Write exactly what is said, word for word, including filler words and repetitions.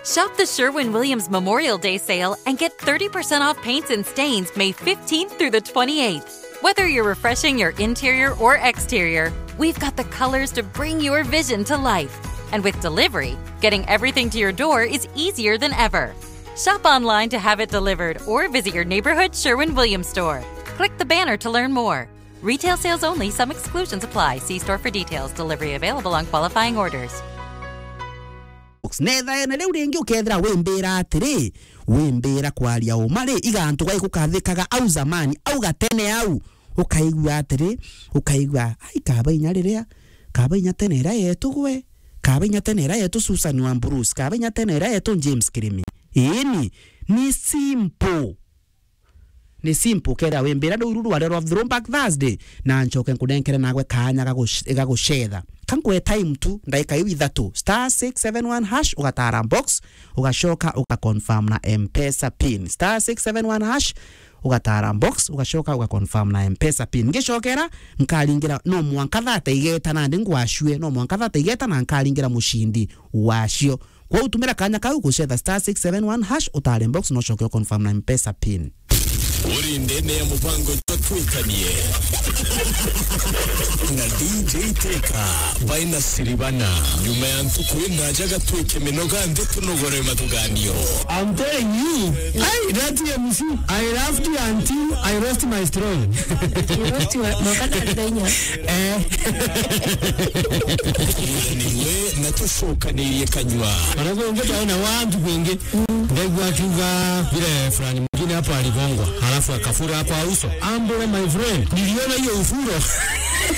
Shop the Sherwin Williams Memorial Day sale and get thirty percent off paints and stains May fifteenth through the twenty-eighth. Whether you're refreshing your interior or exterior, we've got the colors to bring your vision to life. And with delivery, getting everything to your door is easier than ever. Shop online to have it delivered or visit your neighborhood Sherwin Williams store. Click the banner to learn more. Retail sales only, some exclusions apply. See store for details. Delivery available on qualifying orders. Nethaene riu ringi ukethira wimbira atiri, wimbira kwaria uma ri, igantu gai gukathikaga au zamani, au gatene au, ukaigua atiri, ukaigua, ai, kaba inya riria, kaba inya tene iria yetu gwe, kaba inya tene iria yetu Susan wa Bruce, kaba inya tene iria yetu James Kirimi. Iini, ni simple. Ni simple, kethira wimbira riu rwaria rwa throwback Thursday, na ncoke nkunenkere nagwe kaanya ga guc-, ga gucetha. Ka nkwe time tu, ndaika iu ithatu, star six seven one hash, ugatara box, ugacoka ugaconfirm na M-Pesa pin. Star six seven one hash, ugatara box, ugacoka ugaconfirm na M-Pesa pin. Ngicokera, nkaringira no mwanka thate igeta nandi ngwacue, no mwanka thate igeta na nkaringira mucindi wacio. Kwou tumira kaanya kau gucetha star six seven one hash, utare box, no ucoke uconfirm na M-Pesa pin. Uri ndene ya mubango jwa Twikanie na D J Teka by Nasiribana. Nyuma ya ntuku indaja gatwike minoga nthi tunogore mathuganio. I'm telling you, hey, that M C, I laughed until I lost my strong. You lost your, mokana ndenya. Eh. Niwe na tucokanirie kanyua. Mara kungi twaona wantu kungi. Ndaigua akiuga vile fulani mwingine hapo aligongwa, halafu akafura kwa uso. Ambule, my friend, niliona hiyo ufuro.